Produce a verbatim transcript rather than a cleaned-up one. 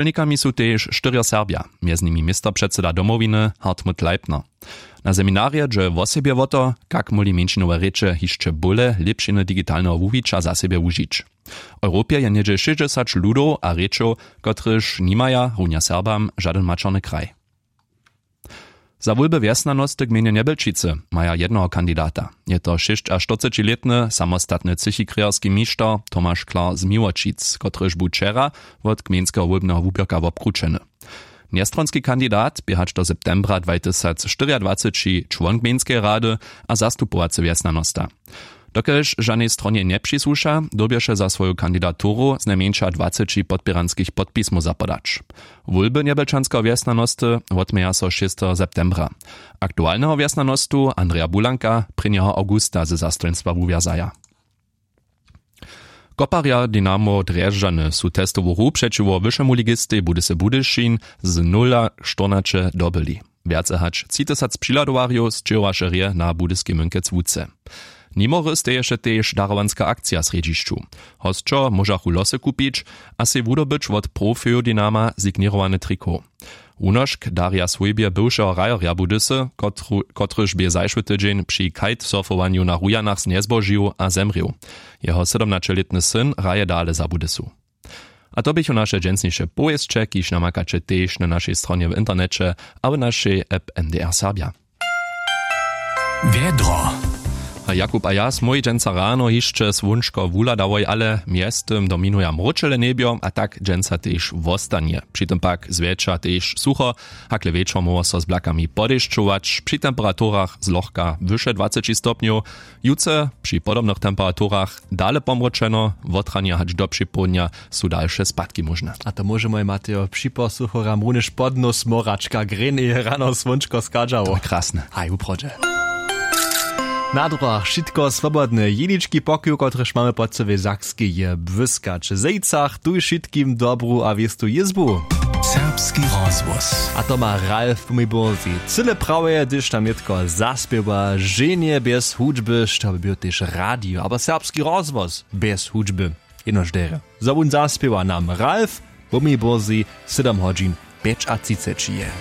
Dźělnikami su tež štyrjo Serbja, mjez nimi městopředsyda Domowiny Hartmut Leipner. Na seminarje dźe wosebje wo to, kak móhli mjeńšinowe rěče hišće bóle lěpšiny digitalneho wuwića za sebje wužić. W europje je něhdźe šěsćdźesać ludow a rěčow, kotrychž nimaja runja Serbam žadyn maćerny kraj. Za wólby wjesnjanosty gmejnje Njebelčicy maja jednoho kandidata. Je to šěsćaštyrcećilětny samostatny třěchikrějerski mišter Tomaš Klar z Miłočic, kotryž bu wčera wot gmejnskeho wólbneho wuběrka wobkrućeny. Njestronski kandidat bě hač do septembra dwatysacštyriadwaceći čłon gmejnskeje rady a zastupowacy wjesnjanosta. Dokelž žanej stronje njepřisłuša, dyrbješe za swoju kandidaturu znajmjeńša dwaceći podpěranskich podpismow zapodać. Wólby njebelčanskeho wjesnjanosty wotměja so šesteho septembra. Aktualneho wjesnjanostu Andreja Bulanka prěnjeho awgusta ze zastojnstwa wuwjazaja. Koparja Dynamo Drježdźany su testowu hru přećiwo wyšemu ligistej Budysy Budyšin z nula štyrnaće dobyli. Wjace hač tři tysac přihladowarjow sćěhowaše rje na budyski mynkec łuce. Nimo hry steješe tež darowanska akcija w srjedźišću. Hosćo móžachu losy kupić a sej wudobyć wot profeju Dynama signěrowany trikow. Wunošk darja swójbje bywšeho hrajerja Budysy, kotru- kotryž bě zašły tydźeń při kitesurfowanju na Rujanach njezbožił a zemrěł. Jeho sydomnaćelětny syn hraje dale za Budysu. A to běchu naše dźensniše powěsće, kiž namakaće tež na našej stronje w interneće a w našej app N D R Serbja. Wjedro. A Jakub a ja smój dźensa rano hišće słónčko wuhladałoj, ale mjeztym dominuja mróčele njebjo a tak dźensa tež wostanje. Při tym pak zwjetša tež sucho, hakle wječor móhło so z blakami podešćować při temperaturach zlochka wyše dwaceći stopnjow. Jutře při podobnych temperaturach dale pomróčeno, wotranja hač do připołdnja su dalše spadki móžne. A to móžemoj, Mateo, připosuchoram runjež pod nos moračka greń je rano słónčko schadźało. Krasne. Haj, wuprawdźe. Na druhach wšitko swobodne. Jenički pokoju, kotryž mamy po cyłej Sakskej, je błyskać. W Zejcach tuj wšitkim dobru a wěstu jězbu. Serbski rozhłos. A to ma Ralf w Miborzi. Cyle prawje, hdyž tam nětko zaspěwa ženje bjez hudźby, što by był tež radio abo serbski rozhłos bjez hudźby. Jenož derje, zo wón zaspěwa nam Ralf, Wumiborzi, sydom hodźin pjećatřiceći je.